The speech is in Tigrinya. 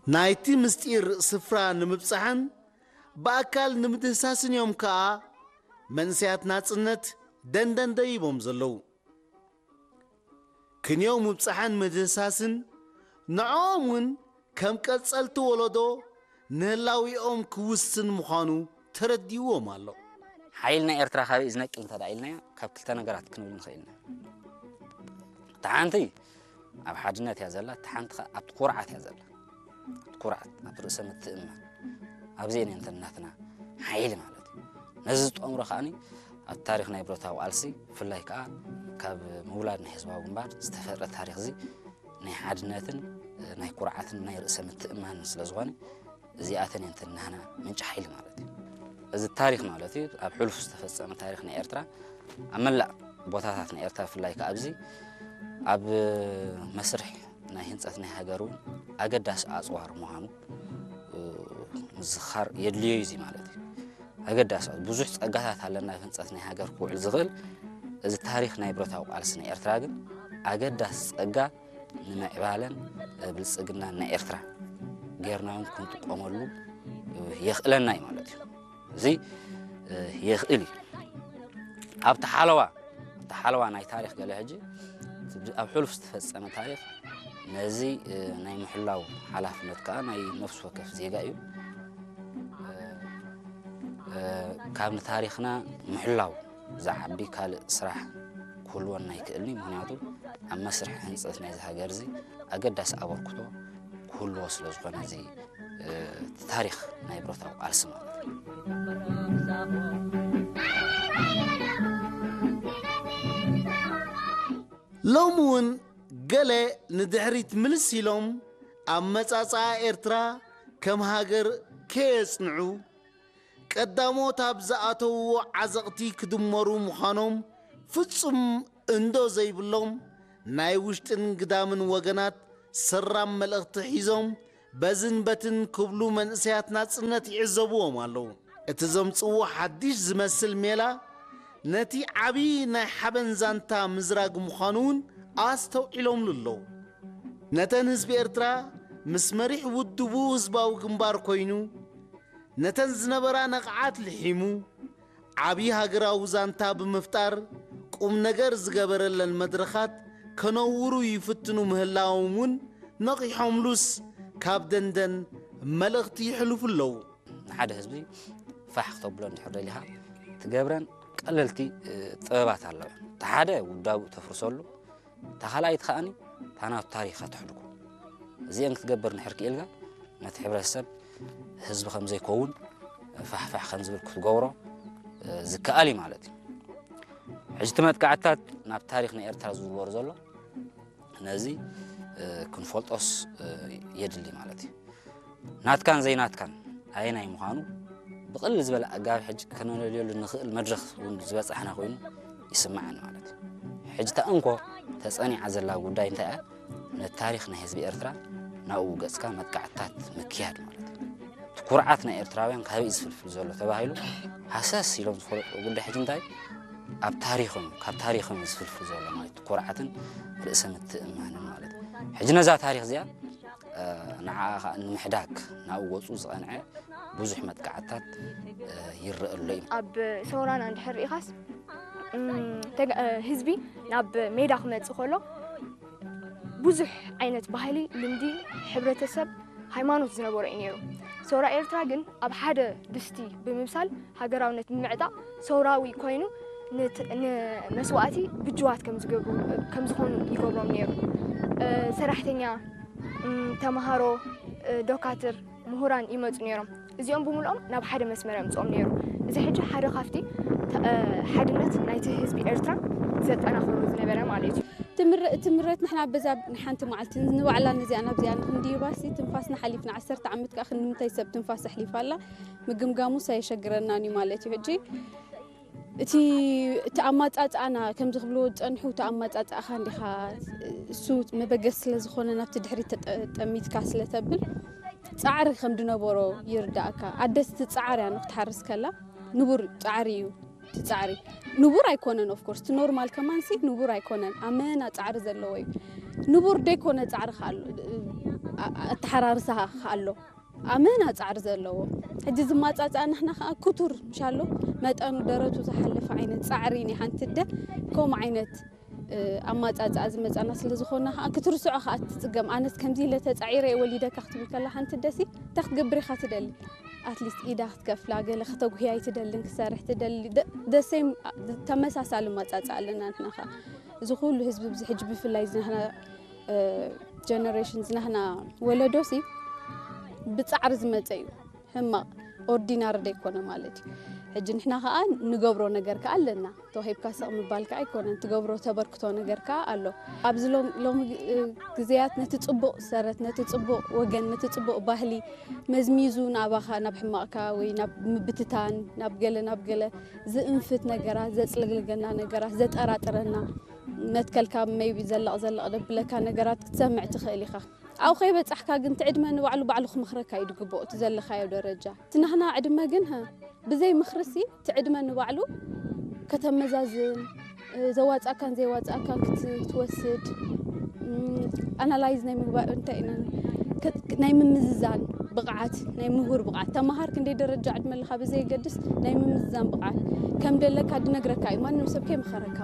ናይቲ ምስጢር ስፍራ ንምብጻሕን ብኣካል ንምድህሳስን እዮም ከኣ መንእሰያት ናጽነት ደንደን ደይቦም ዘለዉ። ክንዮ ምብጻሕን ምድህሳስን ንዕኦም እውን ከም ቀጸልቲ ወለዶ ንህላዊኦም ክውስን ምዃኑ ተረዲእዎም ኣሎ። ሓይሊ ናይ ኤርትራ ካበይ እዩ ዝነቅል እንተ ደኣ ኢልናዮ፣ ካብ ክልተ ነገራት ክንብል ንኽእል ኢና። እታ ሓንቲ ኣብ ሓድነት እያ ዘላ፣ እታ ሓንቲ ኸኣ ኣብቲ ኩርዓት እያ ዘላ። ኣብቲ ኩርዓት፣ ኣብ ርእሰ ምትእምማን፣ ኣብዚ እየን እንተን ናትና ሓይሊ ማለት እዩ። ነዚ ዝጠምሮ ከኣ ኣብ ታሪኽ ናይ ብረታዊ ቃልሲ፣ ብፍላይ ከኣ ካብ ምውላድ ናይ ህዝባዊ ግንባር ዝተፈጥረ ታሪኽ እዚ ናይ ሓድነትን ናይ ኩርዓትን ናይ ርእሰ ምትእምማንን ስለ ዝኾነ፣ እዚኣተን እየን እንተን ናህና ምንጪ ሓይሊ ማለት እዩ። እዚ ታሪኽ ማለት እዩ፣ ኣብ ሕሉፍ ዝተፈጸመ ታሪኽ ናይ ኤርትራ፣ ኣብ መላእ ቦታታት ናይ ኤርትራ፣ ብፍላይ ከኣ ኣብዚ ኣብ መስርሕ ናይ ህንጸት ናይ ሃገር እውን ኣገዳሲ ኣጽዋር ምዃኑ፣ እ፣ ምዝኻር የድልዮ እዩ። እዚ ማለት እዩ ኣገዳሲ ብዙሕ ጸጋታት ኣለና፣ ኣብ ህንጸት ናይ ሃገር ክውዕል ዝኽእል። እዚ ታሪኽ ናይ ብረታዊ ቃልሲ ናይ ኤርትራ ግን ኣገዳሲ ጸጋ ንምዕባለን ብልጽግናን ናይ ኤርትራ ጌርና እውን ክንጥቀመሉ የኽእለና እዩ ማለት እዩ። እዚ የኽእል እዩ። ኣብቲ ሓለዋ፣ ኣብቲ ሓለዋ ናይ ታሪኽ ገለ ሕጂ ኣብ ሕሉፍ ዝተፈጸመ ታሪኽ ነዚ ናይ ምሕላው ሓላፍነት ከኣ ናይ ነፍሲ ወከፍ ዜጋ እዩ። ካብ ንታሪኽና ምሕላው ዝዓቢ ካልእ ስራሕ ክህልወና ኣይክእልን እዩ። ምኽንያቱ ኣብ መስርሕ ህንጸት ናይዚ ሃገር እዚ ኣገዳሲ ኣበርክቶ ክህልዎ ስለ ዝኾነ፣ እዚ፣ እ፣ ታሪኽ ናይ ብረታዊ ቃልሲ ማለት እዩ። ሎሚ እውን ገለ ንድሕሪት ምልስ ኢሎም ኣመጻጽኣ ኤርትራ ከም ሃገር ከየጽንዑ፣ ቀዳሞት ኣብ ዝኣተውዎ ዓዘቕቲ ክድመሩ ምዃኖም ፍጹም እንዶ ዘይብሎም፣ ናይ ውሽጥን ግዳምን ወገናት ሰራም መልእኽቲ ሒዞም በዝን በትን ክብሉ መንእሰያት ናጽነት ይዕዘብዎም ኣለዉ። እቲ ዘምጽእዎ ሓድሽ ዝመስል ሜላ፣ ነቲ ዓቢ ናይ ሓበን ዛንታ ምዝራግ ምዃኑ እውን ኣስተውዒሎምሉ ኣለዉ። ነተን ህዝቢ ኤርትራ ምስ መሪሕ ውድቡ ህዝባዊ ግንባር ኮይኑ፣ ነተን ዝነበራ ነቕዓት ልሒሙ፣ ዓቢ ሃገራዊ ዛንታ ብምፍጣር፣ ቁም ነገር ዝገበረለን መድረኻት ከነውሩ ይፍትኑ ምህላዎም እውን ነቒሖምሉስ፣ ካብ ደንደን መልእኽቲ ይሕልፉ ኣለዉ። ንሓደ ህዝቢ ፋሕ ክተብሎ እንድሕር ደሊኻ፣ ትገብረን ቀለልቲ፣ እ፣ ጥበባት ኣለዋ። እቲ ሓደ ውዳቡ ተፍርሰሉ፣ እታ ካልኣይቲ ከኣኒ እታ ናቱ ታሪኽ ከተሕልፎ። እዚአን ክትገብር እንድሕር ክኢልካ፣ ነቲ ሕብረተሰብ ህዝቢ ከም ዘይከውን ፋሕፋሕ ከም ዝብል ክትገብሮ፣ እ፣ ዝከኣል እዩ ማለት እዩ። ሕጂ እቲ መጥቃዕትታት ናብ ታሪኽ ናይ ኤርትራ ዝዝወር ዘሎ፣ ነዚ፣ እ፣ ክንፈልጦስ፣ እ፣ የድሊ ማለት እዩ። ናትካን ዘይናትካን ኣየናይ ምዃኑ ብቕልል ዝበለ ኣገባብ ሕጂ ከነለልየሉ ንኽእል መድረኽ እውን ዝበጻሕና ኮይኑ ይስምዓኒ ማለት እዩ። ሕጂ እታ እንኮ ተጸኒዓ ዘላ ጉዳይ እንታይ እያ? ነቲ ታሪኽ ናይ ህዝቢ ኤርትራ ናብኡ ገጽካ መጥቃዕትታት ምክያድ ማለት እዩ። እቲ ኩርዓት ናይ ኤርትራውያን ካበይ እዩ ዝፍልፍል ዘሎ ተባሂሉ ሃሰስ ኢሎም ዝፈልጥዎ ጉዳይ ሕጂ እንታይ? ኣብ ታሪኽም፣ ካብ ታሪኽም እዩ ዝፍልፍል ዘሎ ማለት እዩ። ኩርዓትን ርእሰ ምትእምማንን ማለት እዩ። ሕጂ ነዛ ታሪኽ እዚኣ፣ እ፣ ንዓኣ ኸኣ ንምሕዳግ ናብኡ ገጹ ዝቐንዐ ብዙሕ መጥቃዕትታት፣ እ፣ ይረአ ኣሎ እዩ። ኣብ ሰውራና እንድሕር ርኢኻስ፣ እም፣ ተጋ-፣ እ፣ ህዝቢ ናብ ሜዳ ክመጽእ ከሎ ብዙሕ ዓይነት ባህሊ፣ ልምዲ፣ ሕብረተሰብ፣ ሃይማኖት ዝነበሮ እዩ ነይሩ። ሰውራ ኤርትራ ግን ኣብ ሓደ ድስቲ ብምብሳል ሃገራውነት ብምዕጣቕ ሰውራዊ ኮይኑ ንት-፣ ንመስዋእቲ ብጅዋት ከም ዝገብሩ፣ ከም ዝኾኑ ይገብሮም ነይሩ። እ፣ ሰራሕተኛ፣ እም፣ ተምሃሮ፣ እ፣ ዶካትር፣ ምሁራን ይመጹ ነይሮም። እዚኦም ብምልኦም ናብ ሓደ መስመር የምጽኦም ነይሩ። እዚ ሕጂ ሓደ ካብቲ ተ-፣ እ፣ ሓድነት ናይቲ ህዝቢ ኤርትራ ዘጠናኽሮ ዝነበረ ማለት እዩ። ትምረ-፣ ትምረት ንሕና በዛ ንሓንቲ መዓልቲ ንባዕላ ነዚኣ ናብዚኣ ንክንድይባሲ ትንፋስና ሓሊፍና ዓሰርተ ዓመት ከኣ ክንምንታይ ሰብ ትንፋስ ኣሕሊፋ ኣላ ምግምጋሙስ ኣየሸግረናን እዩ ማለት እዩ። ሕጂ እቲ፣ እቲ ኣማጻጽኣና ከምዚ ክብልዎ ዝጸንሑ፣ እቲ ኣማጻጽኣኻ እንዲኻ እሱ መበገሲ ስለ ዝኾነ ናብቲ ድሕሪት ተጠ-፣ ጠሚትካ ስለ ተብል ጻዕሪ ከም ዝነበሮ ይርዳእካ። ኣደስ እቲ ጻዕር እያ ንክትሓርስ ከላ ንቡር ጻዕሪ እዩ። እቲ ጻዕሪ ንቡር ኣይኮነን፣ of course እቲ ኖርማል ከማንሲ ንቡር ኣይኮነን። ኣመና ጻዕሪ ዘለዎ እዩ። ንቡር ደይኮነ ጻዕሪ ከኣ ኣሎ። ኣተሓራርሳ ኣሎ። ኣመና ጻዕሪ ዘለዎ ሕጂ ዝማጻጻ ንሕና ከዓ ክቱር ምሻሎ መጠኑ ደረቱ ዝሓለፈ ዓይነት ጻዕሪ ናይ ሓንቲ ኣደ ከምኡ ዓይነት ኣማጻጽኣ ዝመጻና ስለ ዝኾና ከዓ ክትርስዖ ከዓ ትጽገም። ኣነስ ከምዚ ኢለ ተጻዒረ እየ ወሊደካ ክትብል ከላ ሓንቲ ኣደሲ እንታይ ክትገብር ኢኻ ትደሊ? ኣትሊስት ኢዳ ክትከፍላ ገለ ክተጉህያ ኣይትደልን ክሰርሕ ትደሊ። ደሴም ተመሳሳሊ ኣማጻጽኣ ኣለና ንሕና ከዓ። እዚ ኩሉ ህዝቢ ብዚ ሕጂ ብፍላይ ዝናህና ጀነሬሽን ዝናህና ወለዶሲ ብጻዕሪ ዝመጸ እዩ። ሕማቕ ኦርዲናሪ ደይኮነ ማለት እዩ። ሕጂ ንሕና ከዓ ንገብሮ ነገር ከዓ ኣለና። ተዋሂብካ ስቕ ምባል ከዓ ኣይኮነን። ትገብሮ ተበርክቶ ነገር ከዓ ኣሎ። ኣብዚ ሎም- ሎሚ እ፣ ግዜያት ነቲ ጽቡቕ ሰረት፣ ነቲ ጽቡቕ ወገን፣ ነቲ ጽቡቕ ባህሊ መዝሚዙ ናባኻ ናብ ሕማቕካ ወይ ናብ ምብትታን ናብ ገለ ናብ ገለ ዝእንፍት ነገራት፣ ዘጽለግልገና ነገራት፣ ዘጠራጥረና መትከልካ maybe ዘለቕ ዘለቕ ደብለካ ነገራት ክትሰምዕ ትኽእል ኢኻ። ኣብኡ ከይበጻሕካ ግን እቲ ዕድመ ንባዕሉ ባዕሉ ክመኽረካ እዩ ዝግብኦ እቲ ዘለኻዮ ደረጃ። እቲ ናህና ዕድመ ግን ሀ ብዘይ ምኽርሲ እቲ ዕድመ ንባዕሉ ከተመዛዝን ዘዋፅኣካን ዘይዋፅኣካን ክትወስድ ኣናላይዝ ናይ ምግባር እንታይ ኢና ናይ ምምዝዛን ብቕዓት ናይ ምሁር ብቕዓት ተምሃር ክንደይ ደረጃ ዕድመ ኣለካ ብዘየገድስ ናይ ምምዝዛን ብቕዓት ከም ደለካ ድነግረካ እዩ። ማንም ሰብ ከይመኸረካ